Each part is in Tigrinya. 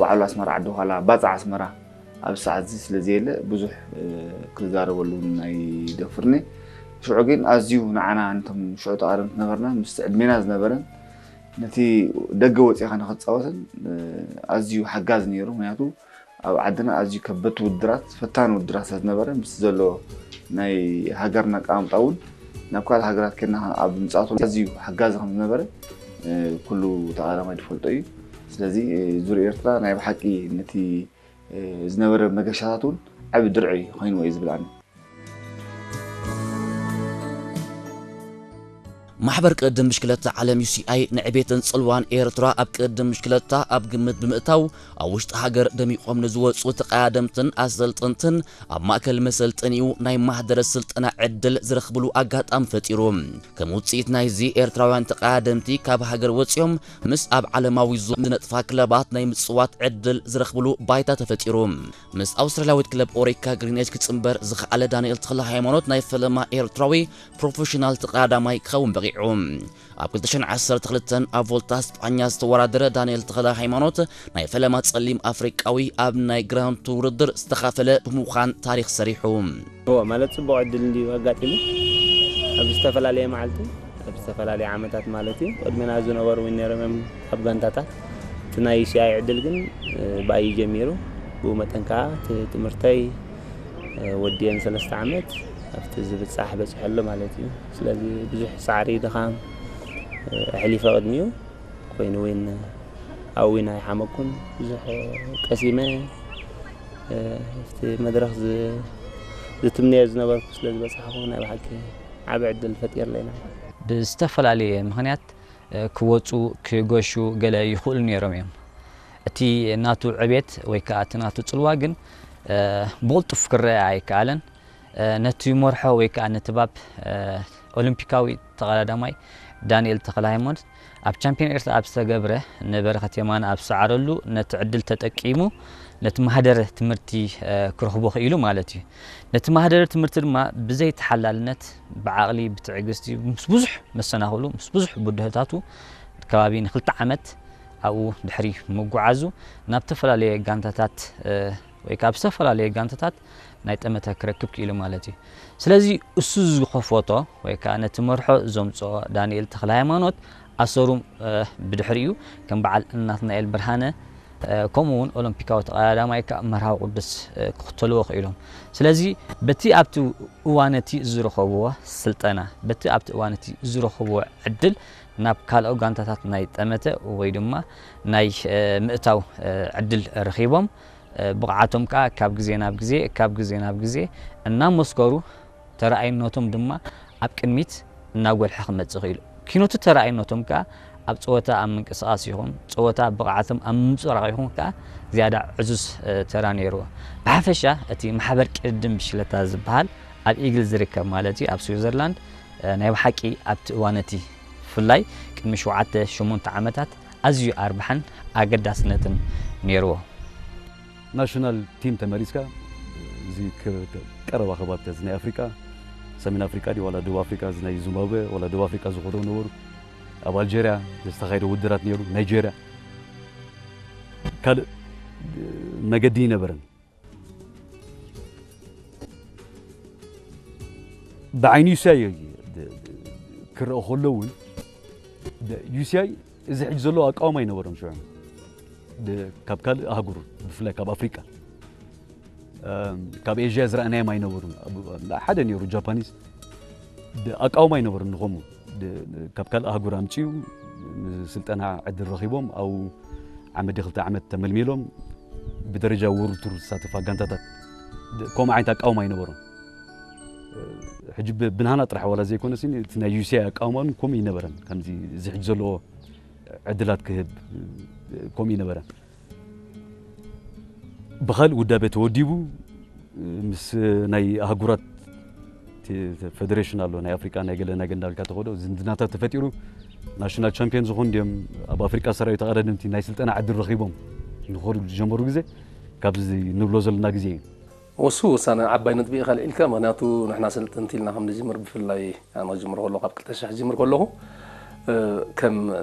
በዓሉ ኣስመራ ዓዲ ዃላ፣ ባጽዕ ኣስመራ ኣብዚ ሰዓት እዚ ስለ ዘየለ ብዙሕ፣ እ፣ ክዛረበሉ እውን ኣይደፍርኒ። ሽዑ ግን ኣዝዩ ንዓና፣ ነቶም ሽዑ ተቓደምቲ ነበርና፣ ምስቲ ዕድሜና ዝነበረን ነቲ ደገ ወጺኻ ንኽትጻወትን፣ እ፣ ኣዝዩ ሓጋዚ ነይሩ። ምኽንያቱ ኣብ ዓድና ኣዝዩ ከበድቲ ውድድራት፣ ፈታኒ ውድድራት ስለ ዝነበረ፣ ምስቲ ዘሎ ናይ ሃገርና ኣቀማምጣ እውን ናብ ካልእ ሃገራት ኬድና ኣብ ምጽኣቱ ኣዝዩ ሓጋዚ ከም ዝነበረ፣ እ፣ ኩሉ ተቓዳማይ ዝፈልጦ እዩ። ስለዚ፣ እ፣ ዙር ኤርትራ ናይ ብሓቂ ነቲ፣ እ፣ ዝነበረ መገሻታት እውን ዓቢ ድርዒ ኮይንዎ እዩ ዝብል ኣነ። ማሕበር ቅድድም ብሽክለታ ዓለም ዩ ሲ ኣይ ንዕቤትን ጽልዋን ኤርትራ ኣብ ቅድድም ብሽክለታ ኣብ ግምት ብምእታው፣ ኣብ ውሽጢ ሃገር ደሚቖም ንዝወጹ ተቐዳደምትን ኣሰልጠንትን ኣብ ማእከል መሰልጠኒኡ ናይ ማህደረ ስልጠና ዕድል ዝረኽብሉ ኣጋጣሚ ፈጢሩ። ከም ውጽኢት ናይዚ፣ ኤርትራውያን ተቐዳደምቲ ካብ ሃገር ወጺኦም ምስ ኣብ ዓለማዊ ዙር ዝነጥፋ ክለባት ናይ ምጽዋት ዕድል ዝረኽብሉ ባይታ ተፈጢሩ። ምስ ኣውስትራልያዊት ክለብ ኦሪካ ግሪን ኤጅ ክጽንበር ዝኸኣለ ዳንኤል ተኽለ ሃይማኖት ናይ ፈለማ ኤርትራዊ ፕሮፌሽናል ተቐዳዳማይ ክኸውን በቒዑ። ኣብ ክልተ ሽሕን ዓሰርተ ክልተን ኣብ ቮልታ ስጳኛ ዝተወዳደረ ዳንኤል ተኽለ ሃይማኖት ናይ ፈለማ ጸሊም ኣፍሪቃዊ ኣብ ናይ ግራንድ ቱር ውድድር ዝተኻፈለ ብምዃን ታሪኽ ሰሪሑ። እወ፣ ማለት ጽቡቕ ዕድል እንድዩ ኣጋጢሙ። ኣብ ዝተፈላለየ መዓልቲ፣ ኣብ ዝተፈላለየ ዓመታት ማለት እዩ። ቅድሜና ዝነበሩ እውን ነይሮም እዮም ኣብ ጋንታታት። እቲ ናይ ዩ ሲ ኣይ ዕድል ግን፣ እ፣ ብኣይ እዩ ጀሚሩ። ብኡ መጠን ከኣ እቲ ትምህርተይ፣ እ፣ ወዲኤን ሰለስተ ዓመት ኣብቲ ዝብጻሕ በጺሐ ኣሎ ማለት እዩ። ስለዚ ብዙሕ ጻዕሪ፣ ድኻም፣ እ፣ ኣሕሊፈ ቅድሚኡ። ኮይኑ እውን ኣብኡ እውን ኣይሓመኩን። ብዙሕ ቀሲመ፣ እ፣ ኣብቲ መድረኽ ዝ-፣ ዝትምነዮ ዝነበርኩ ስለ ዝበጻሕኩ ናይ ብሓቂ ዓቢ ዕድል ፈጢርለይ ኢና። ብዝተፈላለየ ምኽንያት፣ እ፣ ክወጹ፣ ክገሹ ገለ ይኽእሉ ነይሮም እዮም። እቲ ናቱ ዕቤት ወይ ከኣ እቲ ናቱ ጽልዋ ግን፣ እ፣ ብቕልጡፍ ክረኣ ኣይከኣለን። እ፣ ነቲ መርሖ ወይ ከኣ ነቲ ባብ፣ እ፣ ኦሎምፒካዊ ተቐዳዳማይ ዳንኤል ተኽለሃይማኖት ኣብ ቻምፒዮን ኤርትራ ኣብ ዝተገብረ ንበረኸት የማነ ኣብ ዝሰዓረሉ ነቲ ዕድል ተጠቂሙ ነቲ ማህደረ ትምህርቲ፣ እ፣ ክረኽቦ ክኢሉ ማለት እዩ። ነቲ ማህደረ ትምህርቲ ድማ ብዘይ ተሓላልነት፣ ብዓቕሊ፣ ብትዕግስቲ፣ ምስ ብዙሕ መሰናኽሉ፣ ምስ ብዙሕ ብድሆታቱ ከባቢ ንክልተ ዓመት ኣብኡ ድሕሪ ምጉዓዙ ናብ ዝተፈላለየ ጋንታታት፣ እ፣ ወይ ከኣ ኣብ ዝተፈላለየ ጋንታታት ናይ ጠመተ ክረክብ ክኢሉ ማለት እዩ። ስለዚ እሱ ዝኸፈቶ ወይ ከኣ ነቲ መርሖ ዘምጽኦ ዳንኤል ተኽለሃይማኖት ኣሰሩ፣ እ፣ ብድሕሪኡ ከም በዓል ናትናኤል ብርሃነ፣ እ፣ ከምኡ እውን ኦሎምፒካዊ ተቐዳዳማይ ከኣ መርሃዊ ቅዱስ፣ እ፣ ክኽተልዎ ክኢሎም። ስለዚ በቲ ኣብቲ እዋን እቲ ዝረኸብዎ ስልጠና፣ በቲ ኣብቲ እዋን እቲ ዝረኸብዎ ዕድል ናብ ካልኦ ጋንታታት ናይ ጠመተ ወይ ድማ ናይ፣ እ፣ ምእታው፣ እ፣ ዕድል ረኺቦም። እ፣ ብቕዓቶም ከኣ ካብ ግዜ ናብ ግዜ፣ ካብ ግዜ ናብ ግዜ እናመስከሩ፣ ተረኣይነቶም ድማ ኣብ ቅድሚት እናጎልሐ ክመጽእ ክኢሉ። ኪኖቲ ተረኣይነቶም ከኣ ኣብ ጸወታ ኣብ ምንቅስቓስ ይኹን፣ ጸወታ ብቕዓቶም ኣብ ምንጽብራቕ ይኹን ከኣ ዝያዳ ዕዙዝ፣ እ፣ ተራ ነይርዎ። ብሓፈሻ እቲ ማሕበር ቅድድም ብሽክለታ ዝበሃል ኣብ ኢግል ዝርከብ ማለት እዩ፣ ኣብ ስዊዘርላንድ፣ እ፣ ናይ ብሓቂ ኣብቲ እዋን እቲ ብፍላይ ቅድሚ ሸውዓተ ሸሞንተ ዓመታት ኣዝዩ ኣርባሕን ኣገዳስነትን ነይርዎ። ናሽናል ቲም ተመሪጽካ፣ እዚ ከ-፣ ከ-፣ ቀረባ ከባቢታት፣ እዚ ናይ ኣፍሪቃ፣ ሰሜን ኣፍሪቃ ድዩ ዋላ ደቡብ ኣፍሪቃ፣ እዚ ናይ ዚምባብዌ ዋላ ደቡብ ኣፍሪቃ ዝኸዱ ነበሩ፣ ኣብ ኣልጀርያ ዝተኻየደ ውድድራት ነይሩ፣ ናይጀርያ፣ ካልእ መገዲ ኣይነበረን። ብዓይኒ ዩ ሲ ኣይ ክረአ ከሎ እውን፣ ደ-፣ ዩ ሲ ኣይ እዚ ሕጂ ዘለዎ ኣቃውማ ኣይነበሮም ሽዑ። ደ-፣ ካብ ካልእ ኣህጉር፣ ብፍላይ ካብ ኣፍሪቃ፣ እም፣ ካብ ኤዥያ ዝረኣናዮም ኣይነበሩን። ኣብ-፣ ሓደ ነይሩ ጃፓኒዝ፣ ደ-፣ ኣቃውማ ኣይነበሮም ንኸምኡ። ደ-፣ ካብ ካልእ ኣህጉር ኣምጺኡ፣ ንስልጠና ዕድል ረኺቦም፣ ኣብኡ ዓመት ድዩ ክልተ ዓመት ተመልሚሎም፣ ብደረጃ ወርልድ ቱር ዝሳተፋ ጋንታታት፣ ደ-፣ ከምኡ ዓይነት ኣቃውማ ኣይነበሮም። ሕጂ ብ-፣ ብናህና ጥራሕ ዋላ ዘይኮነስ፣ እቲ ናይ ዩ ሲ ኣይ ኣቃውማ እውን ከምኡ ኣይነበረን። ከምዚ እዚ ሕጂ ዘለዎ ዕድላት ክህብ ከምኡ ኣይነበረን። ብኻልእ ውዳቤ ተወዲቡ፣ ምስ ናይ ኣህጉራት ቲ-፣ ፌደሬሽን ኣሎ፣ ናይ ኣፍሪቃ፣ ናይ ገለ፣ ናይ ገለ እንዳበልካ ተኸዶ ዝምድናታት ተፈጢሩ፣ ናሽናል ቻምፒዮን ዝኾኑ ድዮም፣ ኣብ ኣፍሪቃ ሰራዊ ተቐዳደምቲ ናይ ስልጠና ዕድል ረኺቦም ንኸዱ ዝጀመሩ ግዜ፣ ካብዚ ንብሎ ዘለና ግዜ እዩ። እሱ ውሳነ ዓባይ ነጥቢ ኢኻ ልዒልካ፣ ምኽንያቱ ንሕና ሰልጠንቲ ኢልና ከም ንጅምር፣ ብፍላይ ኣነ ክጅምር ከለኹ፣ ካብ ክልተ ሽሕ ክጅምር ከለኹ፣ ከም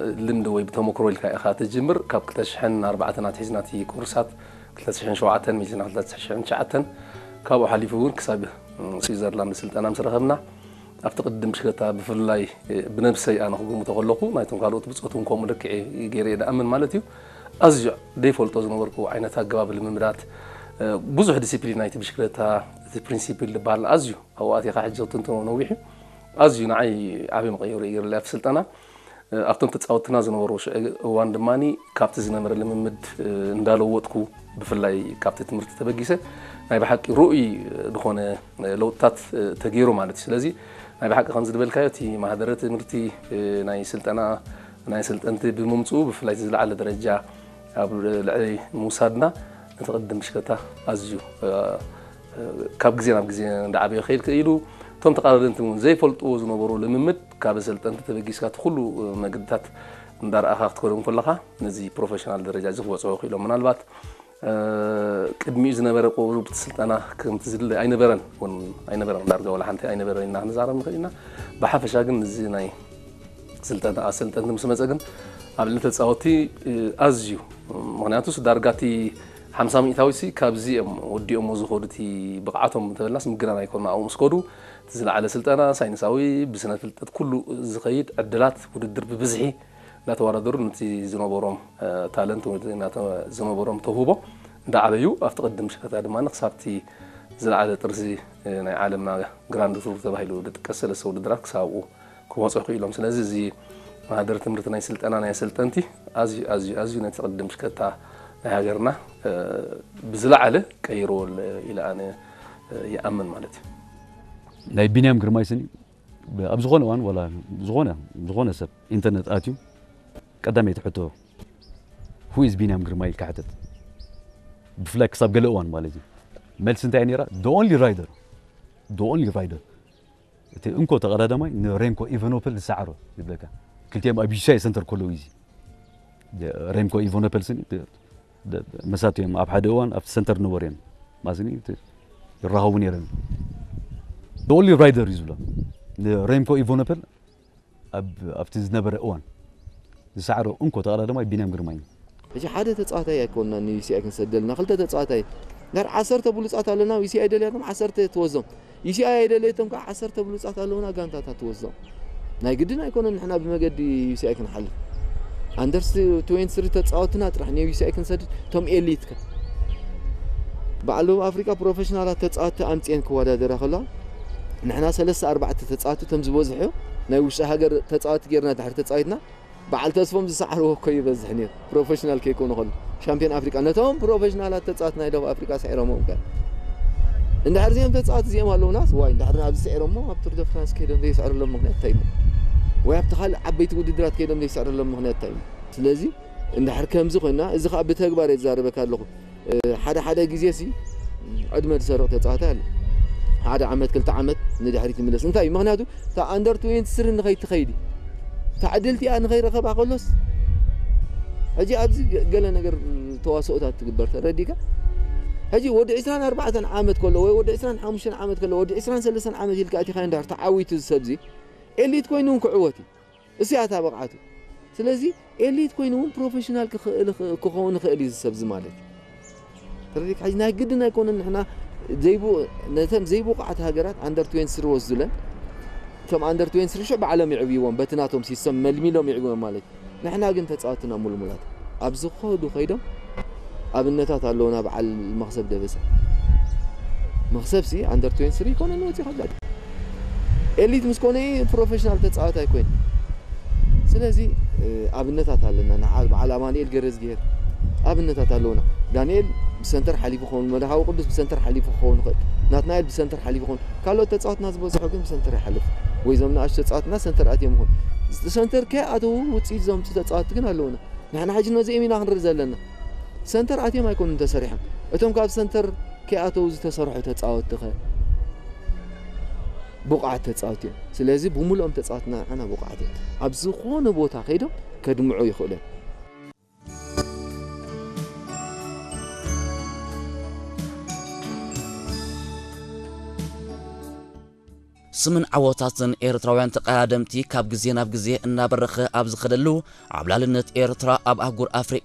ልምዲ ወይ ብተመክሮ ኢልካ ኢኻ ትጅምር። ካብ ክልተ ሽሕን ኣርባዕተን ኣትሒዝና እቲ ኮርሳት ክልተ ሽሕን ሸውዓተን መጺና ክልተ ሽሕን ትሽዓተን፣ ካብኡ ሓሊፉ እውን ክሳብ ስዊዘርላንድ ስልጠና ምስ ረኸብና፣ ኣብቲ ቅድም ብሽክለታ ብፍላይ ብነብሰይ ኣነ ክግምቶ ከለኹ፣ ናይቶም ካልኦት ብጾት እውን ከምኡ ልክዕ ገይረ እየ ዝኣምን ማለት እዩ። ኣዝዩ ዘይፈልጦ ዝነበርኩ ዓይነት ኣገባብ ልምምዳት፣ ብዙሕ ዲሲፕሊን ናይቲ ብሽክለታ፣ እቲ ፕሪንሲፕል ዝበሃል ኣዝዩ ኣብኡ ኣቲኻ ሕጂ ክትንትኖ ነዊሕ እዩ። ኣዝዩ ንዓይ ዓቢ መቐየሪ እዩ ገይሩለይ ኣብቲ ስልጠና። ኣብቶም ተጻወትና ዝነበሩ ሽዑ እዋን ድማ ካብቲ ዝነበረ ልምምድ እንዳለወጥኩ፣ ብፍላይ ካብቲ ትምህርቲ ተበጊሰ ናይ ብሓቂ ርኡይ ዝኾነ ለውጥታት ተገይሩ ማለት እዩ። ስለዚ ናይ ብሓቂ ከምዚ ዝበልካዮ እቲ ማህደረ ትምህርቲ ናይ ስልጠና ናይ ሰልጠንቲ ብምምጽኡ ብፍላይ እቲ ዝለዓለ ደረጃ ኣብ ልዕሊ ምውሳድና ነቲ ቅድም ብሽክለታ ኣዝዩ ካብ ግዜ ናብ ግዜ እንዳዓበየ ክኸይድ ክኢሉ፣ እቶም ተቓዳደምቲ እውን ዘይፈልጥዎ ዝነበሩ ልምምድ ካብ ኣሰልጠንቲ ተበጊስካ እቲ ኩሉ መገድታት እንዳረኣኻ ክትከዶ እንከለኻ ነዚ ፕሮፌሽናል ደረጃ እዚ ክበጽሖ ክኢሎም። ምናልባት ቅድሚኡ ዝነበረ ቁሩብ እቲ ስልጠና ከምቲ ዝድለ ኣይነበረን እውን ኣይነበረን፣ ዳርጋ ዋላ ሓንቲ ኣይነበረን ኢና ክንዛረብ ንኽእል ኢና። ብሓፈሻ ግን እዚ ናይ ስልጠና ኣሰልጠንቲ ምስ መጸ ግን ኣብ ልዕሊ ተጻወትቲ ኣዝዩ፣ ምኽንያቱስ ዳርጋ እቲ ሓምሳ ሚእታዊሲ ካብዚ እዮም ወዲኦሞ ዝኸዱ፣ እቲ ብቕዓቶም እንተበልናስ ምግናን ኣይኮኑን። ኣብኡ ምስ ከዱ እቲ ዝለዓለ ስልጠና ሳይንሳዊ ብስነ ፍልጠት ኩሉ ዝኸይድ ዕድላት ውድድር ብብዝሒ እንዳተወዳደሩ ነቲ ዝነበሮም ታለንት ወይ ዝነበሮም ተውህቦ እንዳዓበዩ ኣብቲ ቅድም ሽፈታ ድማ ክሳብቲ ዝለዓለ ጥርዚ ናይ ዓለምና ግራንድ ቱር ተባሂሉ ዝጥቀስ ሰለስተ ውድድራት ክሳብ ኣብኡ ክበጽሑ ክኢሎም። ስለዚ እዚ ማህደር ትምህርቲ ናይ ስልጠና ናይ ኣሰልጠንቲ ኣዝዩ ኣዝዩ ኣዝዩ ነቲ ቅድም ሽከታ ናይ ሃገርና ብዝለዓለ ቀይርዎ ኢለ ኣነ ይኣምን ማለት እዩ። ናይ ቢንያም ግርማይ ስኒ ኣብ ዝኾነ እዋን ዋላ ዝኾነ ዝኾነ ሰብ ኢንተርነት ኣትዩ ቀዳመይቲ ሕቶ who is ቢንያም ግርማይ ኢልካ ሕተት። ብፍላይ ክሳብ ገለ እዋን ማለት እዩ። መልሲ እንታይ ነይራ? The only rider the only rider እቲ እንኮ ተቐዳዳማይ ንሬምኮ ኢቨኖፐል ዝሰዓሮ ይብለካ። ክልቲኦም ኣብ ዩሲኣይ ሰንተር ከለዉ እዚ ሬምኮ ኢቨኖፐል ስኒ መሳት እዮም ኣብ ሓደ እዋን ኣብቲ ሰንተር ነበሩ እዮም ማስኒ ይራኸቡ ነይሮም። The only rider እዩ ዝብሎ ንሬምኮ ኢቨኖፐል ኣብቲ ዝነበረ እዋን ዝሰዓሮ እንኮ ተቐዳዳማይ ቢንያም ግርማይ እዩ። ሕጂ ሓደ ተጻዋታይ ኣይኮንና ንዩሲኣይ ክንሰደልና ክልተ ተጻዋታይ ጋር ዓሰርተ ብሉጻት ኣለና ዩሲኣይ ደልያቶም ዓሰርተ ትወዞም ዩሲኣይ ኣይደለየቶም ከዓ ዓሰርተ ብሉጻት ኣለውና ጋንታታት ትወዞም ናይ ግድን ኣይኮነን ንሕና ብመገዲ ዩሲኣይ ክንሓልፍ ኣንደርስ ትዌንቲ ስሪ ተጻወትና ጥራሕ ንዩሲኣይ ክንሰድድ ቶም ኤሊት ከ በዓል ደቡብ ኣፍሪቃ ፕሮፌሽናላት ተጻወቲ ኣምጽኤን ክወዳደራ ከለዋ ንሕና ሰለስተ ኣርባዕተ ተጻወቲ ቶም ዝበዝሑ ናይ ውሽጢ ሃገር ተጻወቲ ጌርና ድሕሪ ተጻዊትና በዓል ተስፎም ዝሰዓርዎ እኮ ይበዝሕ ነይሩ ፕሮፌሽናል ከይኮኑ ከሎ ሻምፒዮን ኣፍሪቃ ነቶም ፕሮፌሽናላት ተጻወቲ ናይ ደቡብ ኣፍሪቃ ስዒሮምዎም ከ እንድሕር እዚኦም ተጻወቲ እዚኦም ኣለውናስ ዋይ እንድሕር ኣብዚ ስዒሮሞ ኣብ ቱር ደ ፍራንስ ከይዶም ዘይስዕርሎም ምክንያት እንታይ እዩ ወይ ኣብቲ ካልእ ዓበይቲ ውድድራት ከይዶም ዘይስዕርሎም ምክንያት እንታይ እዩ ስለዚ እንድሕር ከምዚ ኮይና እዚ ከዓ ብተግባር እየ ዝዛረበካ ኣለኹ ሓደ ሓደ ግዜ ሲ ዕድመ ዝሰርቕ ተፃዋታይ ኣሎ ሓደ ዓመት ክልተ ዓመት ንድሕሪት ይምለስ እንታይ እዩ ምክንያቱ እታ ኣንደር ትዌንቲ ስሪ ንኸይትኸይድ እታ ዕድል እቲኣ ንኸይረኸባ ከሎስ ሕጂ ኣብዚ ገለ ነገር ተዋስኦታት ትግበር ተረዲካ ሕጂ ወዲ ዕስራን ኣርባዕተን ዓመት ከሎ ወይ ወዲ ዕስራን ሓሙሽተን ዓመት ከሎ ወዲ ዕስራን ሰለስተን ዓመት ኢልካ እቲኻ እንድሕር ተዓዊቱ ዝሰብዚ ኤሊት ኮይኑ እውን ክዕወት እዩ እሱ ያታ ብቕዓቱ ስለዚ ኤሊት ኮይኑ እውን ፕሮፌሽናል ክኸውን ይኽእል እዩ ዝሰብዚ ማለት እዩ ተረዲካ ሕጂ ናይ ግድን ኣይኮነን ንሕና ዘይቡ ነተን ዘይብቑዓት ሃገራት ኣንደር ትዌንቲ ስሪ ወስዱለን እቶም ኣንደር ትዌንቲ ስሪ ሽዑ ባዕሎም ይዕብይዎም በቲ ናቶም ሲስተም መልሚሎም ይዕብዮም ማለት እዩ ንሕና ግን ተፃወትና ሙልሙላት ኣብ ዝኸዱ ከይዶም ኣብነታት ኣለውና በዓል መኽሰብ ደበሰ መኽሰብ ሲ ኣንደር ትዌንቲ ስሪ ይኮነን ወፂ ከብላ ኤሊት ምስ ኮነ ፕሮፌሽናል ተፃወት ኣይኮይን ስለዚ ኣብነታት ኣለና ንዓ በዓል ኣማንኤል ገረዝግሄር ኣብነታት ኣለውና ዳንኤል ብሰንተር ሓሊፉ ክኸውን መድሃዊ ቅዱስ ብሰንተር ሓሊፉ ክኸውን ይኽእል ናትናኤል ብሰንተር ሓሊፉ ክኸውን ካልኦት ተፃወትና ዝበዝሑ ግን ብሰንተር ይሓልፍ ወይ ዞም ንኣሽ ተፃወትና ሰንተር ኣትዮም ይኹን ሰንተር ከይኣተዉ ውፅኢት ዘምፁ ተፃወቲ ግን ኣለውና ንሕና ሕጂ ነዚኦም ኢና ክንርኢ ዘለና ሰንተር ኣትዮም ኣይኮኑን ተሰሪሖም እቶም ካብ ሰንተር ከይኣተዉ ዝተሰርሑ ተፃወቲ ኸ ብቑዓት ተፃወቲ እዮም ስለዚ ብምሉኦም ተፃወትና ንዓና ብቑዓት እዮም ኣብ ዝኾነ ቦታ ከይዶም ከድምዑ ይኽእሉ እዮም ስምን ዓወታትን ኤርትራውያን ተቐዳደምቲ ካብ ግዜ ናብ ግዜ እናበረኸ ኣብ ዝኸደሉ፣ ዓብላልነት ኤርትራ ኣብ ኣህጉር ኣፍሪቃ